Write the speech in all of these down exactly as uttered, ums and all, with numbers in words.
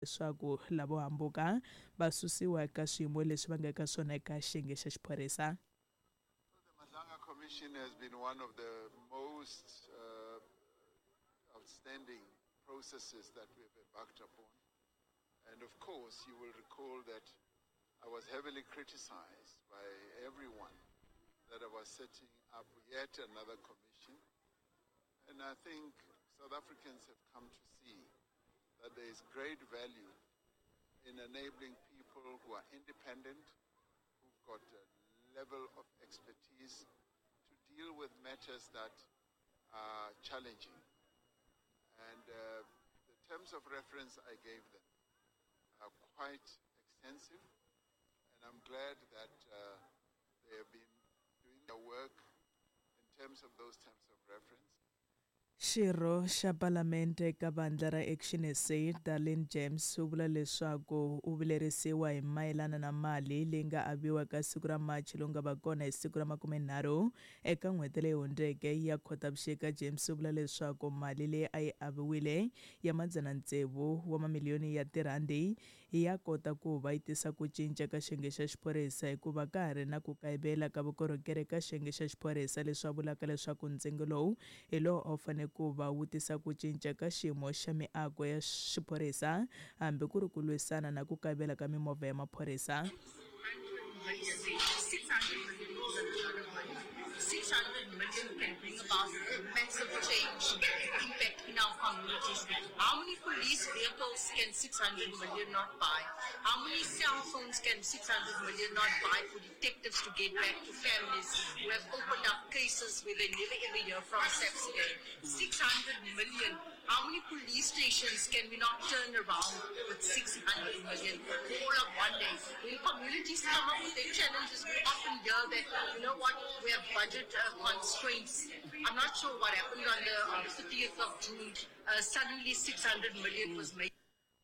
Leswaku lavo hambuka va susiwa eka swiyimo leswi va nga eka swona eka xiyenge xa xiphorisa. The Madlanga Commission has been one of the most uh, outstanding processes that we have embarked upon. And of course, you will recall that I was heavily criticized by everyone that I was setting up yet another commission. And I think South Africans have come to see that there is great value in enabling people who are independent, who've got a level of expertise to deal with matters that are challenging. And uh, the terms of reference I gave them are quite extensive, and I'm glad that uh, they have been doing their work in terms of those terms of reference. Xirho xa Palamende eka vandla ra Action S A, Darlene James, u vula leswaku u vilerisiwa hi mayelana na mali leyi nga aviwa ka siku ra Machi lowu nga va kona hi siku ra makumenharhu eka n'hweti leyi hundzeke ya Khotavuxika. James u vula leswaku mali leyi a yi aviwile ya madzana tsevu wa mamiliyoni ya tirhandi ya kota ku va yi tisa ku cinca ka xiyenge xa xiphorisa, hikuva ka ha ri na ku kayivela ka vukorhokeri ka xiyenge xa xiphorisa, leswi a vulaka leswaku ntsengo lowu hi lowu a wu fanele ku va wu tisa ku cinca ka xiyimo xa miako ya xiphorisa, hambi ku ri ku lwisana na ku kayivela ka mimovha ya maphorisa. six hundred million is a lot of money. six hundred million can bring about massive change, impact in our communities. How many police vehicles can six hundred million not buy? How many cell phones can six hundred million not buy for detectives to get back to families who have opened up cases where they never ever hear from SAPS again? six hundred million. How many police stations can we not turn around with six hundred million all of one day? When communities come up with their challenges, we often hear that, you know what, we have budget uh, constraints. I'm not sure what happened on the, on the thirtieth of June. Uh, suddenly six hundred million was made.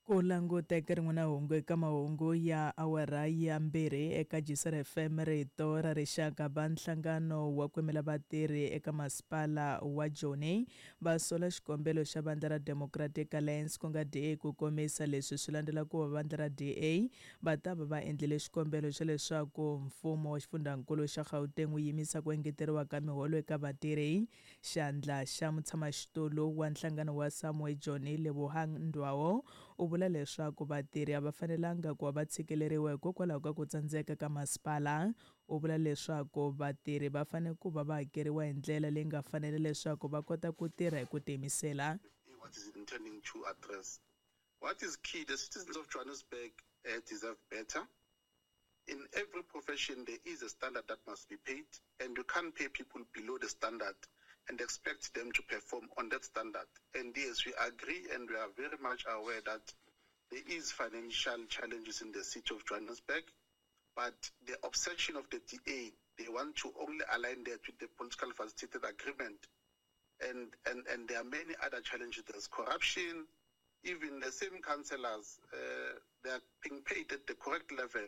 Ku languta eka rin'wana hungu eka mahungu ya awara ya mbirhi eka J C R F M, rito ra rixaka, va nhlangano wa ku yimela vatirhi eka masipala wa Joni va sola xikombelo xa vandla ra Democratic Alliance, ku nga D A. Ku komisa leswi swi landzela ku va vandla ra D A va ta va va endlile xikombelo xa leswaku mfumo wa xifundzankulu xa Gauteng wu yimisa ku engeteriwa ka miholo eka vatirhi. Xandla xa mutshamaxitulu wa nhlangano wa Samwu eJoni, Lebohang Ndwao, u vula leswaku vatirhi a va fanelanga ku va va tshikeleriwa hikokwalaho ka ku tsandzeka ka masipala. U vula leswaku vatirhi va fanele ku va va hakeriwa hi ndlela leyi nga fanela leswaku va kota ku tirha hi ku tiyimisela. What is it intending to address? What is key, the citizens of Johannesburg uh, deserve better. In every profession, there is a standard that must be paid, and you can't pay people below the standard and expect them to perform on that standard. And yes, we agree and we are very much aware that there is financial challenges in the city of Johannesburg, but the obsession of the D A, they want to only align that with the political facilitated agreement. And, and, and there are many other challenges. There's corruption. Even the same councillors, uh, they are being paid at the correct level,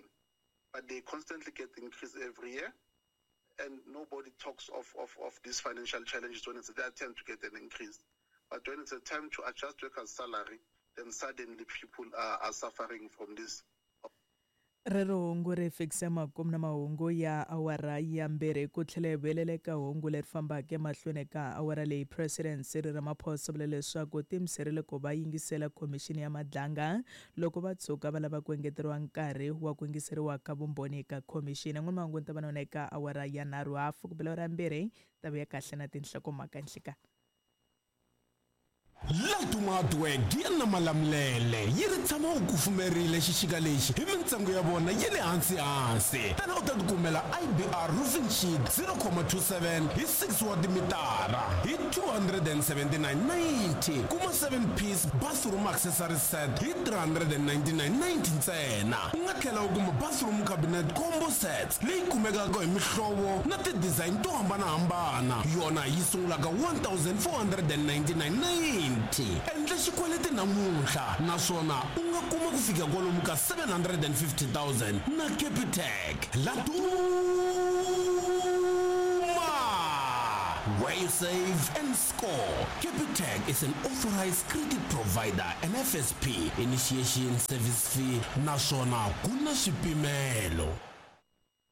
but they constantly get increased every year. And nobody talks of, of, of these financial challenges when it's their turn to get an increase. But when it's a time to adjust workers' salary, then suddenly people are, are suffering from this. Rero hungu ri fikisa makumu na mahungu ya awara ya mbirhi. Ku tlhela hi vuyelela eka hungu leri fambaka emahlweni ka awara leyi, President Cyril Ramaphosa vula leswaku tiyimiserile ku va yingisela khomixini ya Madlanga loko va tshuka va lava ku engeteriwa nkarhi wa ku yingiseriwa ka vumbhoni eka khomixini. N'wini mahungu ni ta va na wona eka awara ya nharhu hafu ku bela awara ya mbirhi ta vuya kahle na tinhlokomhaka nhlika. Laduma Hardwork ya na Malamulele yi ri tshama wu kufumerile xixika lexi hi mintsengo ya vona ya le hansi hansi. Tana u ta tikumela I B R roofing sheet zero point two seven hi six wa timitara hi two hundred seventy-nine ninety. Kuma seven piece bathroom accessory set hi three hundred ninety-nine ninety ntsena. U nga tlhela u kuma bathroom cabinet combo sets leyi kumekaka hi mihlovo na ti-design to hambanahambana, yona yi sungulaka one thousand four hundred ninety-nine ninety. Endla xikweleti namuntlha naswona u nga kuma ku fika kwalomu ka seven hundred fifty thousand na Capitec. Laduma. where you save and score. Capitec is an authorized credit provider and F S P initiation service fee naswona ku na swipimelo.